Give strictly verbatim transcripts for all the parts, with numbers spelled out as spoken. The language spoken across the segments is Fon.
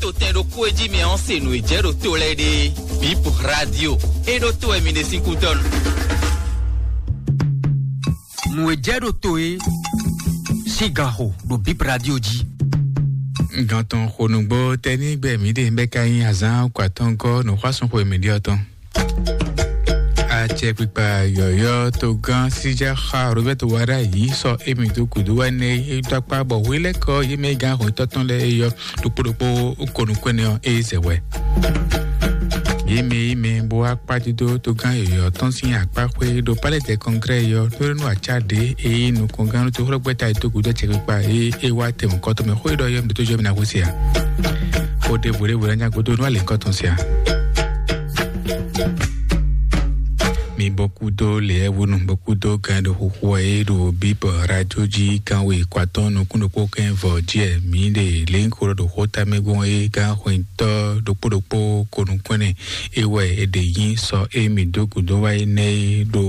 Tɛn ɖokpó e jí mi ɔ́ se nǔ e jɛ ɖo to lɛ́ɛ ɖe. Bip Radio e ɖo to wɛ mi ɖe sín kútɔ́ nu. Nǔ e jɛ ɖo to e sín gan xo ɖo Bip Radio jí. Gantɔn xonúgbó tɛnígbɛ mǐ ɖe bɛ ka nyí azán kwatɔ́nkɔ nǔxwásúnxwe mǐ ɖe ɔ́ tɔn. Acɛkpikpa yɔ̌yɔ́ togán síjáxa Roberto Wara yìí sɔ émi dó gǔdo wɛ nɛ é dó akpá bɔ hwelɛ́kɔ yé mɛ gán hɔn tɔ́tɔn lɛ́ɛ é yɔ ɖokpó ɖokpó konu kɔ́nɛ ɔ́ é zɛ wɛ. Yé mɛ yé mɛ bó wá kpá dídó togán yɔ̌yɔ́ tɔn sín akpá xwé ɖo palais des congrès yɔ tónú acá ɖě é yí nukɔngán tó xlɔ́gbɛ́ta é dó gǔdo acɛkpikpa é é wá tɛmɛ kɔ́tɔ́ mɛ xwé ɖɔ yɔ mi tó jɔ mi ná xwé se ǎ. Xó ɖěvo ɖěvo ná nyá gúdo nú alě kɔ́tɔn se ǎ. Mi bɔ kúdó lɛ̌ wónú bɔ kúdó gán ɖo xóxó ɛ é ɖo bíbɔ radio jí gánwe kó atɔ́ nukún ɖokpó kɛ́n vɔ jí ɛ mǐ ɖe lěńkó ɖo xó tamɛ gbɔn é gán xwɛntɔ́ ɖokpó ɖokpó kó nukún ɛnɛ é wɛ è ɖe nyí sɔ é mǐ dó gǔdo wá é nɛ́ é ɖo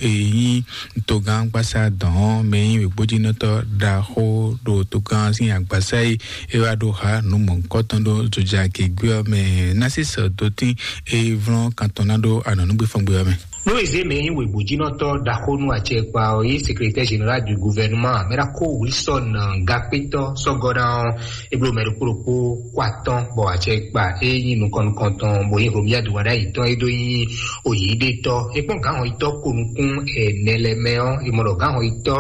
é nyí togán gbásá dɔn ɔ́ mɛ nyí wěgbójínɔtɔ́ ɖaxó ɖo togán sín agbasá é é wá ɖo ha nǔ mɔ̌hunkɔtɔn ɖó jojagěgbé ɔ́ mɛ ná sí sɔ dotín é vlɔ́n kan tɔn ná ɖó anɔ̌núgbéfɔ́ngbé ɔ́ mɛ. Nú è zě mɛ e nyí wěgbójínɔtɔ́ ɖaxó nú acɛkpa ɔ́, é nyí secrétaire général du gouvernement, mɛ ɖaxó Wilson Gakpétɔ́ sɔ́gɔ́ ná ɔ́, é bló mɛ ɖokpó ɖokpó kó atɔ́ bɔ acɛkpa é nyí nukɔn nukɔntɔn bó nyí Romuald Wadagni tɔn é ɖó nyí oyǐɖétɔ́. É kpɔ́n gǎnhɔnyitɔ́ ko nukún ɛnɛ lɛ́ɛ mɛ ɔ́, é mɔ ɖɔ gǎnhɔnyitɔ́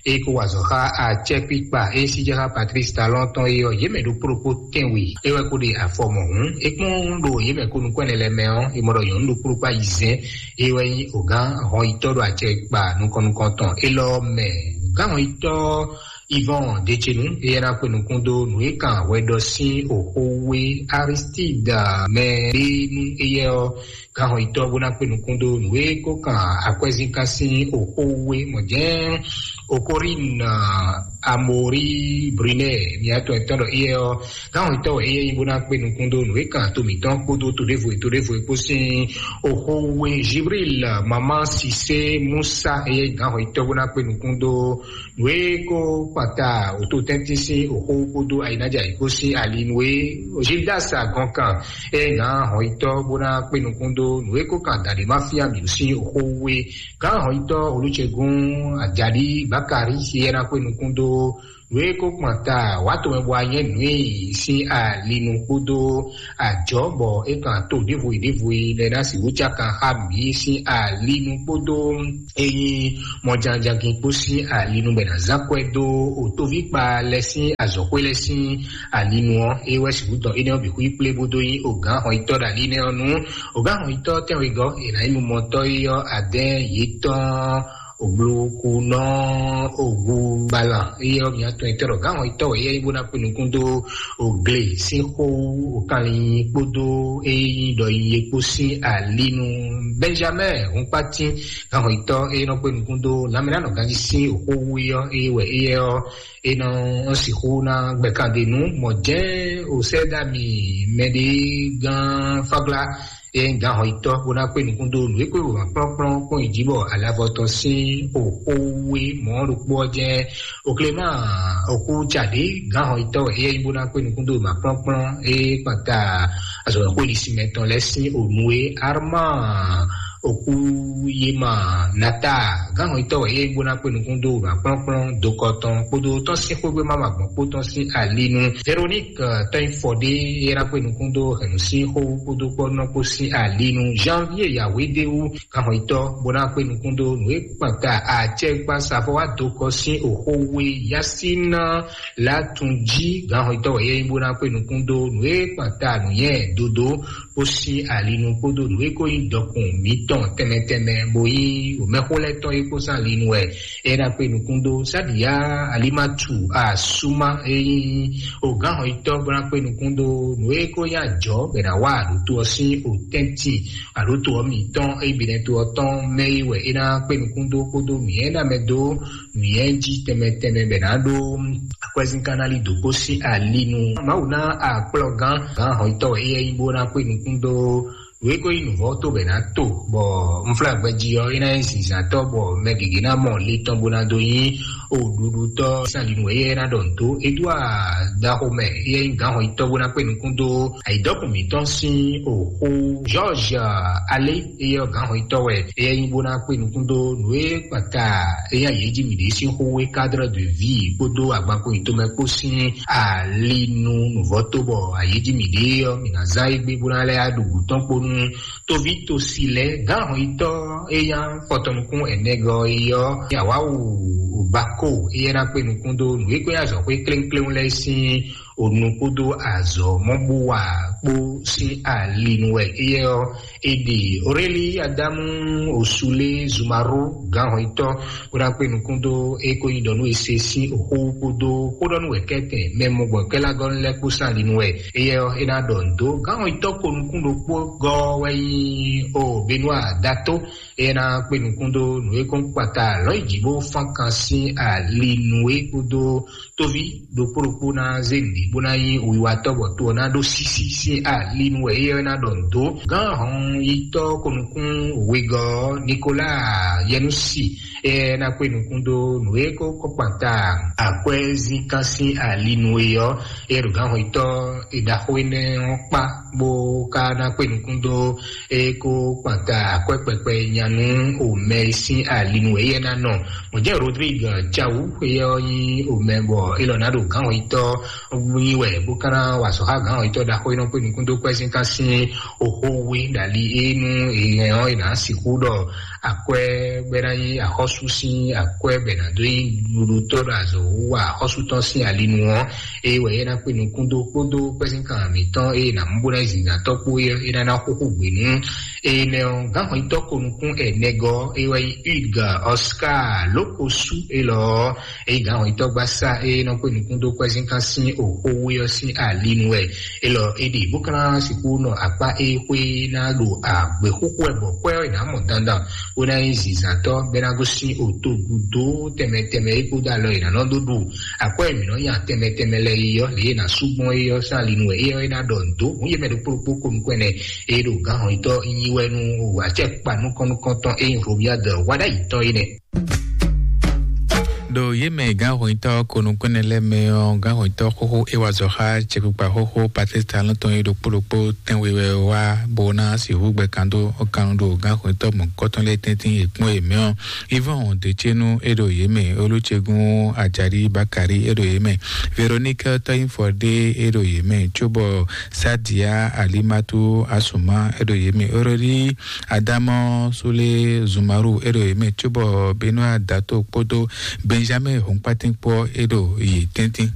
é ko wa azɔ̌ xá acɛkpikpa é síjɛ xá Patrice Talon tɔn é ɔ́, yě mɛ ɖokpó ɖokpó tɛ́nwe é wɛ ko ɖe afɔ mɔ̌hun. É kpɔ́n ɖo yě mɛ ko nukún ɛnɛ lɛ́ɛ mɛ ɔ́, é mɔ ɖɔ nyɔ̌nu ɖokpó ɖokpó ayizɛ́n é wɛ nyí ogán hɔnyitɔ́ ɖo acɛkpa nukɔn nukɔn tɔn élɔ́ mɛ. Gǎnhɔnyitɔ́ Yvon Decenu, éyɛ́ ná kpé nukún dó nǔ e kan hwɛ ɖɔ sín oxó we Aristide mɛ ɖé nú éyɛ́ ɔ́, gǎnhɔnyitɔ́ bó ná kpé nukún dó nǔ e ko kan akwɛ́zínkan sín oxó we mɔ̌ jɛ́n Okorin Amori Brunel, mǐ atɔn etɔn ɖɔ éyɛ́ ɔ́, gǎnhɔnyitɔ́ wɛ éyɛ́ nyí bó ná kpé nukún dó nǔ e kan to mǐtɔn kpódó to ɖěvo e to ɖěvo e kpó sín oxó we Jibril Mama Sise Musa, éyɛ́ nyí gǎnhɔnyitɔ́ bó ná kpé nukún dó nǔ e ko kpata wǒtotɛ́ntin sín oxó kpódó ayǐnájɛ ayǐkó sín ali nú é. Gildas Agɔnkan é gǎn hɔnyitɔ́ bó ná kpé nukún dó nǔ e ko kan dǎɖé má fín amǐ sín oxó we. Gǎn hɔnyitɔ́ Olúcegún Ajali Bakari é ná kpé nukún dó nǔ e ko kpata wǎ tomɛ bɔ anyɛ́ nǔ e sín ali nú kpódó ajɔ̌ bɔ é kan to ɖěvo e ɖěvo e lɛ ná sixú cákan xá mǐ sín ali nú kpódó ényí mɔjánjangin kpó sín alinu bɛ ná zán kwɛ dó otóvíkpa lɛ sín azɔ̌xwé lɛ sín alinu ɔ́, é wɛ sixú dɔn énɛ́ ɔ́ bǐ xwí kplé bó dó nyí ogǎn hɔnyitɔ́ ɖo ali nɛ́ ɔ́ nú. Ogǎn hɔnyitɔ́ tɛ́nwegɔ́ è nǎ nyí numɔtɔ́ é ɔ́ adɛ́n yětɔn ògblokunɔ ògúgbalán é ɔ́ mǐ atɔn etɔ́ ɖɔ gǎn hɔnyitɔ́ wɛ é nyí bó ná kpé nukún dó ògle sín xó òkanlin kpódó é nyí ɖɔ nyi é kpó sín alinu. Benjamin Hunkpatin gǎnhɔnyitɔ́ e nɔ kpé nukún dó lanmɛnánɔ ganjí sín òxówú é ɔ́, é wɛ éyɛ́ ɔ́, é nɔ sixú ná gbɛkandenu mɔ jɛ́n osɛ́dami mɛɖé gán fáglá é nyí gǎnhɔnyitɔ́ bó ná kpé nukún dó nǔ e kpé wěma kplɔ́nkplɔ́n kpɔ́n yi jí bɔ alavɔ tɔn sín òxówú é mɔ̌ ɖokpó ɔ́ jɛ́n Okléma òkú Tchadé gǎnhɔnyitɔ́ wɛ éyɛ́ nyí bó ná kpé nukún dó wěma kplɔ́nkplɔ́n é kpata azɔ̌xwé ɖisímɛ tɔn lɛ́ɛ sín ònu é Armand òkú yéma Nata gǎnhɔnyitɔ́ wɛ éyɛ́ nyí bó ná kpé nukún dó wěma kplɔ́nkplɔ́n dokɔ tɔn kpódó tɔn sín xwégbé má ma gbɔn kpó tɔn sín alinu Véronique tɔn nyí fɔɖé é ná kpé nukún dó hɛ̌nnu sín xó kpódó kpɔ́nɔ kpó sín alinu Janvier Yahweh Déwu gǎnhɔnyitɔ́ bó ná kpé nukún dó nǔ e kpanta acɛkpasafɔ wá dokɔ sín òxówé Yasina Latunji gǎnhɔnyitɔ́ wɛ yɛ nyí bó ná kpé nukún dó nǔ e kpanta nǔnyɛ dodo kpó sín alinu kpódó nǔ e ko nyí dɔkun mǐtɔn tɛnmɛ tɛnmɛ bó nyí wǒmɛxó lɛ́ɛ tɔn é kpó sín alinu wɛ é ná kpé nukún dó Sadiya Alimatu Asuma é nyí ogǎnhɔnyitɔ́ bó ná kpé nukún dó nǔ e ko nyí ajɔ̌ bɛ ná wá aɖǒto ɔ́ sín òtɛ́ntin aɖǒto ɔ́ mǐtɔn é bǐ nɛ́ to ɔ́ tɔn mɛ é wɛ é ná kpé nukún dó kpódó mǐ é ná mɛ dó nǔnywɛ́ jí tɛnmɛ tɛnmɛ bɛ ná ɖó akwɛ́zínkánná lí dǒ kpó sín ali nu. Mawu ná akplɔ́gán gǎn hɔnyitɔ́ wɛ éyɛ́ nyí bó ná kpé nukún dó nǔ e ko nyí nǔvɔ́ tó bɛ ná to, bɔ unflágbɛjí ɔ́ é ná nyí zǐnzántɔ́, bɔ mɛ gěgé ná mɔ le tɔn bó ná dó nyí O ɖuɖutɔ́ Salinu eye ná ɖɔ nǔ dó Edouard Dahomey eye nyí gǎnhɔnyitɔ́ bó ná kpé nukún dó ayǐdɔkùn mǐtɔn sín oxó George Alé eye ɔ́ gǎnhɔnyitɔ́ wɛ eye nyí bó ná kpé nukún dó nǔ e kpata eye ayǐ jí mǐɖée sín xó e cadre de vie kpódó agbankpo yǐtomɛ kpó sín ali nu nǔvɔ́ tó bɔ ayǐ jí mǐɖée ɔ́ mǐ ná zán égbé bó ná lɛ́ ɖu gǔ tɔn kpó nú toví tosi lɛ́ɛ gǎnhɔnyitɔ́ e nyí afɔtɔnukún ɛnɛgɔ é ɔ́, Yawawu Bako éyɛ́ ná kpé nukún dó nǔ e kó nyí azɔ̌xwé kléŋkléŋ lɛ́ɛ sín onu kpódó azɔ̌ mɔ́ bó wa kpó sín ali nu wɛ éyɛ́ ɔ́, è ɖe Aurélie Adamu Osule Zumaru gǎnhɔnyitɔ́ bó ná kpé nukún dó é kó nyí ɖɔ nú è se sín oxó kpódó xó ɖɔ nú wɛ̌kɛ́tɛn mɛ mɔgbɔkɛ́lágɔ́nú lɛ́ɛ kpó sín ali nu wɛ. Éyɛ́ ɔ́, é ná ɖɔ nǔ dó gǎnhɔnyitɔ́ ko nukún ɖokpó gɔ́ wɛ nyí o Benua Dato. É ná kpé nukún dó nǔ e kɔn kpata lɔ̌ yi jǐ bó fán kan sín ali nu é kpódó tóví ɖokpó ɖokpó ná zé nǔɖé bó ná nyí wiwatɔ́ bɔ to ɔ́ ná ɖó sísí sín ali nu wɛ éyɛ́ ɔ́ ná ɖɔ nǔ dó. Gǎnhɔnyitɔ́ ko nukún wegɔ́ Nicolas Yɛnusi é ná kpé nukún dó nǔ e kó kɔ́kpata akwɛ́zínkán sín ali nu é ɔ́, é ɖo gǎnhɔnyitɔ́ e ɖaxó énɛ́ ɔ́ kpá bó ka ná kpé nukún dó é kó kpata akwɛ́ kpɛkpɛ nya nú omɛ e sín ali nu é yɛ ná nɔ. Mɔ̌ jẹ́ Rodrigue Tchawu éyɛ́ ɔ́ nyí omɛ bɔ é lɔ ná ɖo gǎnhɔnyitɔ́ nyi wɛ bó ka ná wa azɔ̌ xá gǎnhɔnyitɔ́ ɖaxó e nɔ kpé nukún dó kwɛ́zínkán sín oxó we ɖali é nú èèyàn ɔ́ è nǎ sixú ɖɔ akwɛ́ bɔ é ná nyí axɔ́sú sín akwɛ́ bɔ è nǎ dó nyí ɖuɖutɔ́ ɖo azɔ̌ wa axɔ́sú tɔn sín ali nu ɔ́, é wɛ é ná kpé nukún dó kpódó kpɛ́zínkan mǐtɔn é ná mú bó ná zǐngán tɔ́ kpó é é ná ná xúxú gbě nú énɛ́ ɔ́. Gǎnhɔnyitɔ́ ko nukún ɛnɛgɔ́ é wɛ nyí Hugues Oscar Lókosú élɔ́ ɔ́, é nyí gǎnhɔnyitɔ́ gbásá é nɔ kpé nukún dó kpɛ́zínkan sín oxó we ɔ́ sín ali nu wɛ. Élɔ́ é ɖe bó ka ná sixú nɔ akpá é xwé ná ɖo agběxúxú wɛ bɔ kwɛ́ ɔ́ è nǎ mɔ dandan bó ná nyí zǐnzǎntɔ́ bɔ é ná gosín otogudo tɛnmɛ tɛnmɛ é kpódó alɔ è nǎ nɔ dó ɖu akwɛ́ e mǐ nɔ nya tɛnmɛ tɛnmɛ lɛ́ɛ é ɔ́, lě e è nǎ sú gbɔn é ɔ́ sín ali nu wɛ é ɔ́ é ná ɖɔ nǔ dó. Hǔn yě mɛ ɖokpó ɖokpó ko nukún ɛnɛ é ɖo gǎnhɔnyitɔ́ nyi wɛ nú acɛkpa nukɔn nukɔntɔn é nyí Romuald Wadagni tɔn é nɛ́. Ɖo yě mɛ gǎnhɔnyitɔ́ ko nukún ɛnɛ lɛ́ɛ mɛ ɔ́, gǎnhɔnyitɔ́ xóxó é wa azɔ̌ xá cɛkpikpa xóxó Patrice Talon tɔn é ɖokpó ɖokpó tɛnwe wɛ wá bó ná sixú gbɛ kan dó kan ɖo gǎnhɔnyitɔ́ mɔ̌hunkɔtɔn lɛ́ɛ tɛ́ntin è kpɔ́n yě mɛ ɔ́. Yvon Decenu é ɖo yě mɛ, Olusegun Ajadi Bakari é ɖo yě mɛ, Véronique Tɔyinfɔdé é ɖo yě mɛ, cóbɔ Sadia Alimatu Asuma é ɖo yě mɛ, Aurélie Adamɔ Sule Zumaru é ɖo yě mɛ, cóbɔ Benoît Dato kpódó Benjamin Hunkpatin kpó é ɖo yě tɛ́ntin.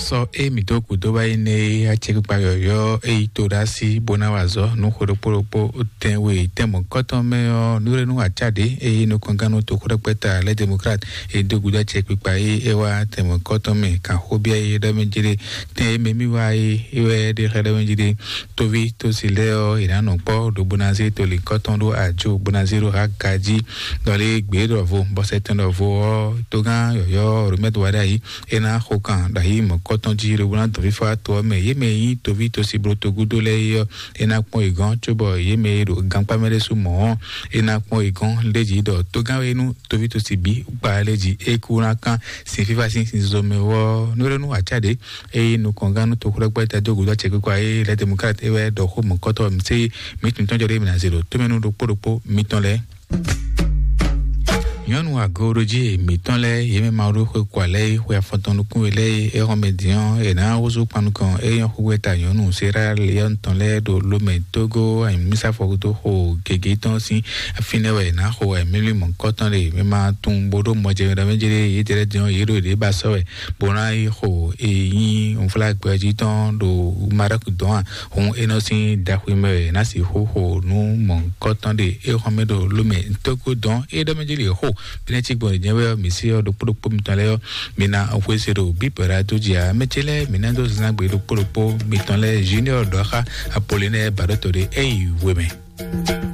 Sɔ é mǐ dó gǔdo wá yi nɛ é acɛkpikpa yɔ̌yɔ́ é yi to ɖó así bó ná wa azɔ̌ nú xwe ɖokpó ɖokpó tɛnwe tɛnmɔ̌kɔtɔn mɛ ɔ́, nǔɖénú acá ɖě é yi nukɔngán nú toxóɖɛkpɛ́ta lɛ́ Demokrat é dó gúdo acɛkpikpa é é wá tɛnmɔ̌kɔtɔn mɛ kan xó byɔ́ é ɖɔ mɛ jlé tɛn é mɛ mì wá é é wɛ ɖe xlɛ́ ɖɔ mɛ jlé. Tóví tósi lɛ́ɛ ɔ́, è nǎ nɔ kpɔ́ ɖo bó ná zé tolǐnkɔ́tɔn ɖó ajo bó ná zé ɖó ha gají. Ɖɔ lé gbě ɖɔvo bɔ sɛtɛn ɖɔvo ɔ́, togán yɔ̌yɔ́ Romɛ́d wa ɖ'ayǐ, é ná xo kan ɖ'ayǐ mɔ̌kɔtɔn jí ɖo bó ná dɔn fífá to ɔ́ mɛ. Yě mɛ e nyí tóví tósi bló togúdo lɛ́ɛ é ɔ́, é ná kpɔ́n yě gɔ́n, cóbɔ yě mɛ e ɖo gankpá mɛ ɖésú mɔ̌ ɔ́, é ná kpɔ́n yě gɔ́n. Lé jí ɖɔ togán e nú tóví tósi bǐ kpa lé jí é kú ná kán sin fífá sín sin zozo mɛ wɔ nú é nú acá ɖě. Eye nukɔngán nú toxlɔ́gbɛ́ ta dó gǔdo acɛkpikpa e lɛ́ Demokrat é wɛ ɖɔ xó mɔ̌kɔtɔ́ mǐ sé mǐ tunwun tɔn jɔ ɖé mǐ ná zě ɖo tómɛnú ɖokpó ɖokpó mitɔn lɛ́ɛ. Nyɔ̌nu agooɖojí mǐtɔn lɛ́ɛ yě mɛ Mawu ɖó xwe kɔ alɛ é xwe afɔtɔn nukún we lɛ́ɛ é xɔ́n mɛ din ɔ́, è nǎ húzú kpan nukɔn é nyɔ́ xúgbɛ́ta nyɔ̌nu Sierra Leone tɔn lɛ́ɛ ɖo Lomɛ Tógó anyǔmísá fɔgúdó xo gěgé tɔn sín fínɛ́ wɛ è nǎ xo wɛ mímí mɔ̌kɔ́tɔn ɖe mɛ ma tunwun bó ɖó mɔjɛmɛ ɖɔ mɛ jlé yědɛ́ lɛ́ɛ din ɔ́, yě ɖo yě ɖě ba sɔ́ wɛ bó ná yi xo e nyí nflágbɛjí tɔn ɖo Maroc dɔn a? Hǔn é nɔ sín ɖaxwimɛ wɛ ná sixú xo nú mɔ̌hunkɔtɔn ɖe é xɔ́n mɛ ɖo Lomɛ tógó dɔn é ɖɔ mɛ jí lě xo. Bínɛ́ cí gbɔn jɛ́n wɛ ɔ́, mǐ sí ɔ́ ɖokpó ɖokpó mitɔn lɛ́ɛ ɔ́, mi ná xwé se ɖo bíbɛ̌ ɖo adó jí ǎ. Mɛ ce lɛ́ɛ mǐ ná dó zán gbe ɖokpó ɖokpó mitɔn lɛ́ɛ Junior ɖɔ xá Apollinɛ Baɖótɔ ɖé é yi we mɛ.